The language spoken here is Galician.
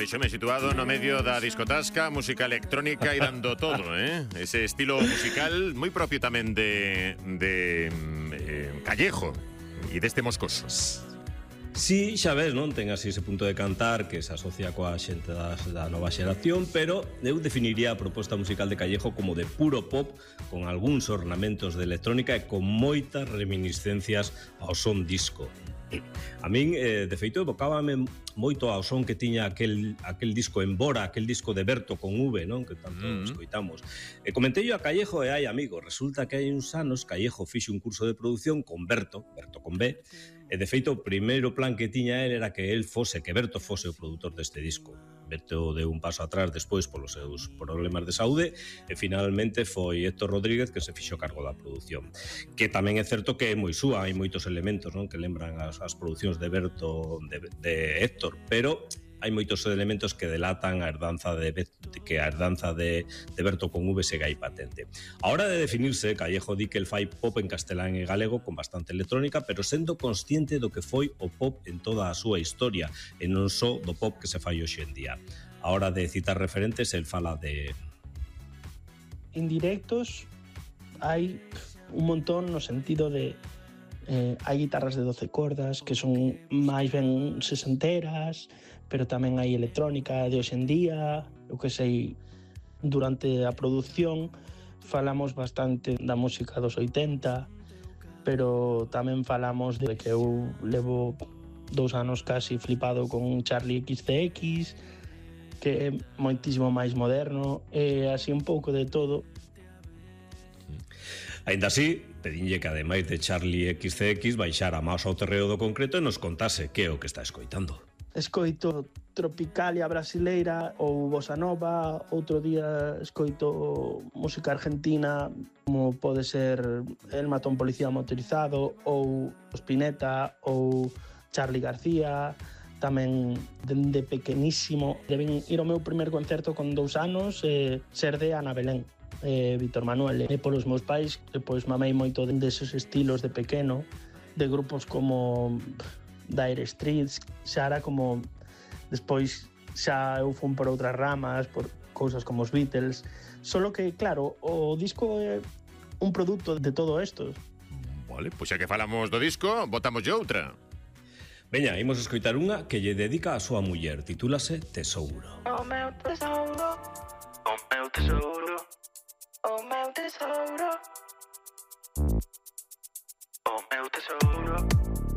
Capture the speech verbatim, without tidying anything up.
Vexome situado no medio da discotasca, música electrónica e dando todo, eh? Ese estilo musical moi propio tamén de, de eh, Callejo e deste Moscoso. Sí, xa ves, non? Ten así ese punto de cantar que se asocia coa xente da, da nova xeración, pero eu definiría a proposta musical de Callejo como de puro pop, con algúns ornamentos de electrónica e con moitas reminiscencias ao son disco. A min, eh, de feito, evocábame moito ao son que tiña aquel, aquel disco Embora, aquel disco de Berto con V, non? Que tanto mm. escoitamos. E comentei a Callejo e hai amigo. Resulta que hai uns anos Callejo fixe un curso de produción con Berto, Berto con B, e de feito o primeiro plan que tiña él era que él fose, que Berto fose o produtor deste disco. Berto deu un paso atrás despois polos seus problemas de saúde e finalmente foi Héctor Rodríguez que se fixo cargo da produción. Que tamén é certo que é moi súa, hai moitos elementos, non, que lembran as, as producións de Berto, de, de Héctor, pero hai moitos elementos que delatan a herdanza de, de que a herdanza de, de Berto con V segue aí patente. A hora de definirse, Callejo di que el fai pop en castelán e galego con bastante electrónica, pero sendo consciente do que foi o pop en toda a súa historia e non só do pop que se fai hoxe en día. A hora de citar referentes, el fala de... Indirectos hai un montón no sentido de eh, hai guitarras de doce cordas que son máis ben sesenteras, pero tamén hai electrónica de hoxe en día. Eu que sei, durante a produción falamos bastante da música dos oitenta, pero tamén falamos de que eu levo dous anos casi flipado con Charlie X C X, que é moitísimo máis moderno, e así un pouco de todo. Ainda así, pedinlle que ademais de Charlie X C X baixara máis ao terreo do concreto e nos contase que é o que está escoitando. Escoito tropicalia brasileira ou bossa nova, outro día escoito música argentina como pode ser El Matón Policía Motorizado ou Spinetta ou Charly García. Tamén dende pequenísimo deben ir ao meu primer concerto con dous anos e ser de Ana Belén, e Víctor Manuel, e polos meus pais e pois mamei moito deses estilos de pequeno, de grupos como Dire Straits. Xa era como despois xa eu fun por outras ramas, por cousas como os Beatles, solo que claro, o disco é un produto de todo isto. Vale, pois xa que falamos do disco, botamos outra. Veña, imos escoitar unha que lle dedica a súa muller, titúlase Tesouro. O meu tesouro, o meu tesouro.